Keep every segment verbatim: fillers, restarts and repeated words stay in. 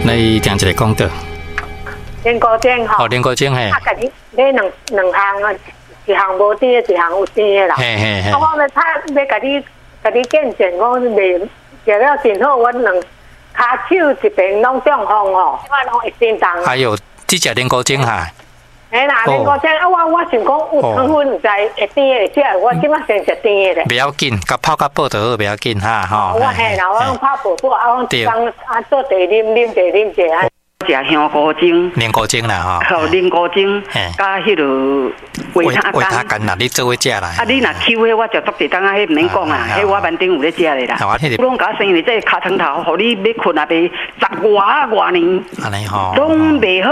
來聽一个廣告。龍骨精吼。哦，龍骨精嘿。啊，家己買兩兩項啊，一項無甜的，一項有甜的啦。嘿嘿嘿。啊，我欲拍欲共你共你見證講袂食了真好，我兩跤手一邊攏中風吼，這擺攏會震動。哎喲，這食龍骨精哈？嘿啦，龍骨精啊，我我想講有糖分，毋知會甜的食，我這擺先食甜的咧。袂要緊，共泡較薄就好，袂要緊哈吼。我嘿啦，我攏泡薄薄，啊，我當啊做茶啉啉茶啉茶啊。食香菇精，龍骨精啦吼，吼龍骨精，佮彼落維他維他乾啦，你做伙食啦。啊，你若搝彼我食足濟冬仔，彼毋免講啊，彼我挽頂有咧食的啦。我攏共我生的這个尻床頭，予你欲睏也袂十外外年，按呢吼，攏袂好，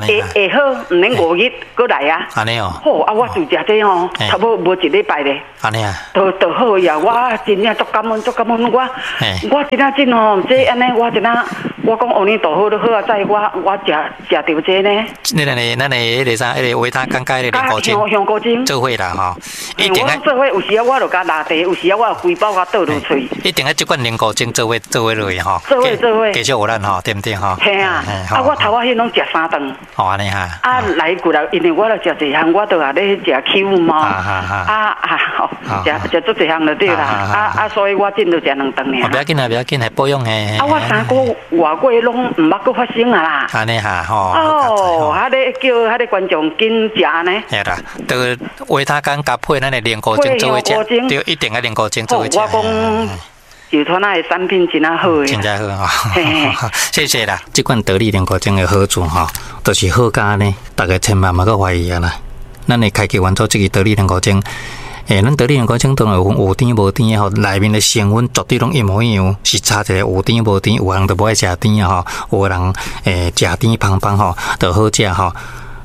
會會好，毋免五日閣來啊。按呢哦。好啊，我就食這吼，差不多無一禮拜咧。按呢啊。就就好呀，我真正足感恩，足感恩我，我真正真吼，這按呢我真正，我講阿彌陀佛都好啊，在我我食食著這呢。你咱的咱的彼个啥，彼个維他乾佮彼个龍骨精，香菇精做伙啦吼。一定愛做伙，有時啊我就共抐茶，有時啊我就規包共倒落喙。一定愛這款龍骨精做伙做伙落去吼。做伙做伙。繼續有咱吼，對毋對吼？嘿啊，啊我頭仔彼攏食三頓。哦，按呢哈。啊來過來，因為我著食一項，我著也咧食 Q 嘛。啊啊，食食足濟項就對啦。啊啊，所以我進度食兩頓爾。袂要緊啊，袂要緊，係保養的。啊，我三個外過攏毋捌閣發生啊啦。按呢哈吼。哦，啊咧叫彼个觀眾緊食按呢。嘿啦，就維他乾佮配咱的龍骨精做伙食，對，一定愛龍骨精做伙食。我講就傳仔的產品真仔好的。真正好吼，謝謝啦。這款得力龍骨精的好處吼，就是好甲呢，逐家千萬莫閣懷疑啊啦。咱的開機元素這个得力龍骨精。欸，咱得力龍骨精當然有分有甜無甜的吼，內面的成分絕對攏一模一樣，是差一個有甜無甜。有人就無愛食甜的吼，有的人欸食甜芳芳吼，就好食吼。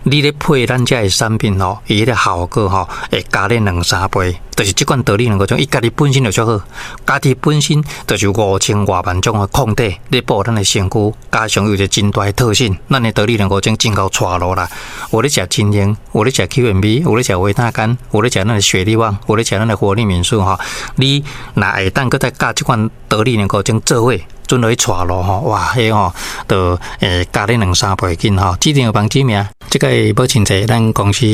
你咧配咱遮的產品吼，伊彼个效果吼會加咧兩三倍。就是這款得力龍骨精，伊家己本身就足好，家己本身就是有五千外萬種的抗體咧保護咱的身軀，加上有一個真大的特性，咱的得力龍骨精真𠢕帶路啦。有咧食精英，有咧食 Q M B，有咧食維他乾，有咧食咱的雪利旺，有咧食咱的活力敏素吼。你若會當閣再佮這款得力龍骨精做伙，準落去帶路吼，哇！彼吼就會加咧兩三倍緊吼。指定有網址名，這個母親節，咱公司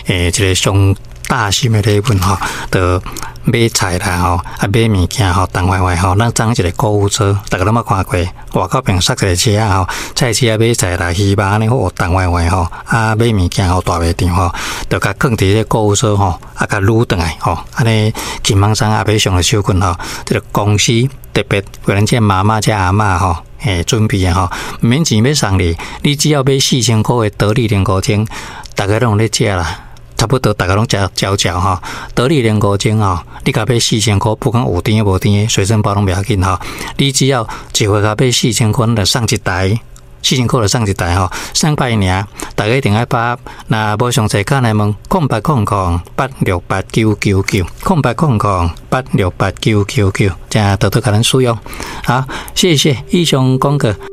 欸一个上大心的禮物吼，就買菜啦吼，啊買物件吼，重壞壞吼，咱送一个購物車，逐家攏捌看過，外口邊塞一个車仔吼，菜市仔買菜啦，魚肉按呢好重壞壞吼，啊買物件吼大賣場吼，就共囥佇這个購物車吼，啊共擄轉來吼，按呢輕鬆鬆啊買上就手緊吼，這个公司特別為咱這媽媽這阿嬤吼，欸準備的吼，毋免錢欲送你，你只要買四千箍的得力龍骨精，逐家攏有咧食啦。差不多，逐家攏食嚼嚼吼，得力龍骨精吼，你共買四千箍，不管有甜無甜的，隨身包攏袂要緊吼。你只要一回共買四千箍，就送一台，四千箍就送一台吼，送百爾，逐家一定愛把握。若無詳細，敲來問空八空空八六八九九九，空八空空八六八九九九，請多多共咱使用。好，謝謝以上廣告。